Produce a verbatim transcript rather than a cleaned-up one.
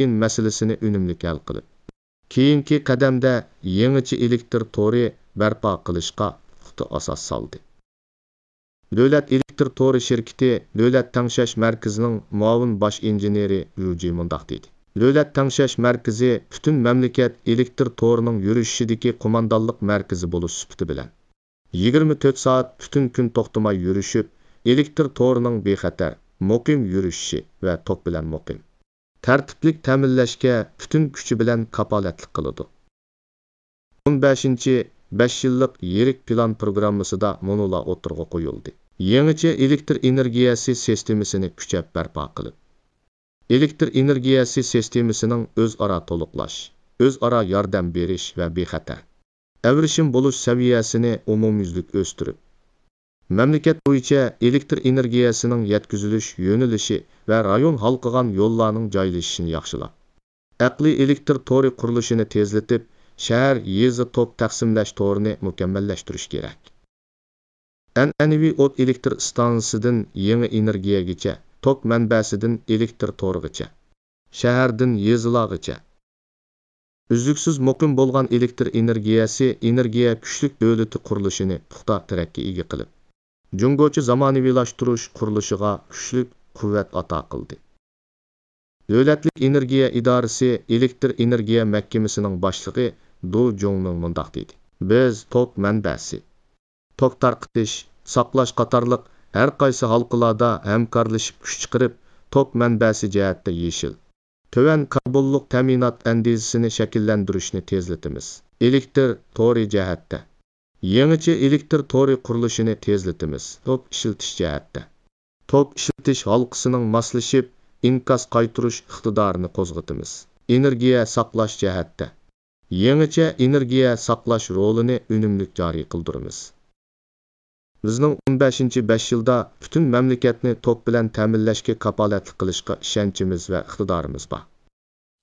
تەيىن مەسىلىسىنى ئۈنۈملۈك ھەل قىلىپ، كېيىنكى قەدەمدە يېڭىچە ئېلېكتر تورى بەرپا قىلىشقا پۇختا ئاساس سالدى. دۆلەت ئېلېكتر تورى شىركىتى دۆلەت تەڭشەش مەركىزىنىڭ مۇئاۋىن باش ئىنژېنېرى يۇجى مۇنداق دېدى: دۆلەت تەڭشەش مەركىزى پۈتۈن مەملىكەت ئېلېكتر تورىنىڭ يۈرۈشۈشىدىكى قوماندانلىق مەركىزى بولۇش سۈپىتى بىلەن، يىگىرمە تۆت سائەت پۈتۈن كۈن توختىماي يۈرۈشۈپ، ئېلېكتر تورىنىڭ بىخەتەر، مۇقىم يۈرۈشۈشى ۋە توك بىلەن مۇقىم، تەرتىپلىك تەمىنلەشكە پۈتۈن كۈچى بىلەن كاپالەتلىك قىلىدۇ. ئون بەشىنچى بەش يىللىق يىرىك پىلان پروگراممىسىدا مۇنۇلار ئوتتۇرىغا قويۇلدى: يېڭىچە ئېلېكتر ئېنېرگىيەسى سىستېمىسىنى كۈچەپ بەرپا قىلىپ، ئېلېكتر ئېنېرگىيەسى سىستېمىسىنىڭ ئۆزئارا تولۇقلاش، ئۆزئارا ياردەم بېرىش ۋە بىخەتەر، ئەۋرىشىم بولۇش سەۋىيەسىنى ئومۇميۈزلۈك ئۆستۈرۈپ، مەملىكەت بويىچە ئېلېكتر ئېنېرگىيەسىنىڭ يەتكۈزۈلۈش يۆنىلىشى ۋە رايون ھالقىغان يوللارنىڭ جايلىشىشىنى ياخشىلاپ، ئەقلىي ئېلېكتر تورى قۇرۇلۇشىنى تېزلىتىپ، شەھەر، يېزا توك تەقسىملەش تورىنى مۇكەممەللەشتۈرۈش كېرەك. ئەنئەنىۋى ئوت ئېلېكتر ئىستانسىسىدىن يېڭى ئېنېرگىيەگىچە، توك مەنبەسىدىن ئېلېكتر تورىغىچە، شەھەردىن يېزىلارغىچە ئۈزلۈكسىز مۇقىم بولغان ئېلېكتر ئېنېرگىيەسى ئېنېرگىيە كۈچلۈك دۆلىتى قۇرۇلۇشىنى پۇختا تىرەككە ئىگە قىلىپ، جۇڭگوچە زامانىۋىلاشتۇرۇش قۇرۇلۇشىغا كۈچلۈك قۇۋۋەت ئاتا قىلدى. دۆلەتلىك ئېنېرگىيە ئىدارىسى ئېلېكتر ئېنېرگىيە مەھكىمىسىنىڭ باشلىقى دۇ جۇڭمىڭ مۇنداق دېدى: بىز توك مەنبەسى، توك تارقىتىش، ساقلاش قاتارلىق ھەر قايسى ھالقىلاردا ھەمكارلىشىپ كۈچ چىقىرىپ، توك مەنبەسى جەھەتتە يېشىل، تۆۋەن كاربونلۇق تەمىنات ئەندىزىسىنى شەكىللەندۈرۈشنى تېزلىتىمىز. ئېلېكتر تورى جەھەتتە، يېڭىچە ئېلېكتر تورى قۇرۇلۇشىنى تېزلىتىمىز. توك ئىشلىتىش جەھەتتە، توك ئىشلىتىش ھالقىسىنىڭ ماسلىشىپ، ئىنكاس قايتۇرۇش ئىقتىدارىنى قوزغىتىمىز. ئېنېرگىيە ساقلاش جەھەتتە، يېڭىچە ئېنېرگىيە ساقلاش رولىنى ئۈنۈملۈك جارى قىلدۇرىمىز. بىزنىڭ ئون بەشىنچى بەش يىلدا پۈتۈن مەملىكەتنى توك بىلەن تەمىنلەشكە كاپالەتلىك قىلىشقا ئىشەنچىمىز ۋە ئىقتىدارىمىز بار.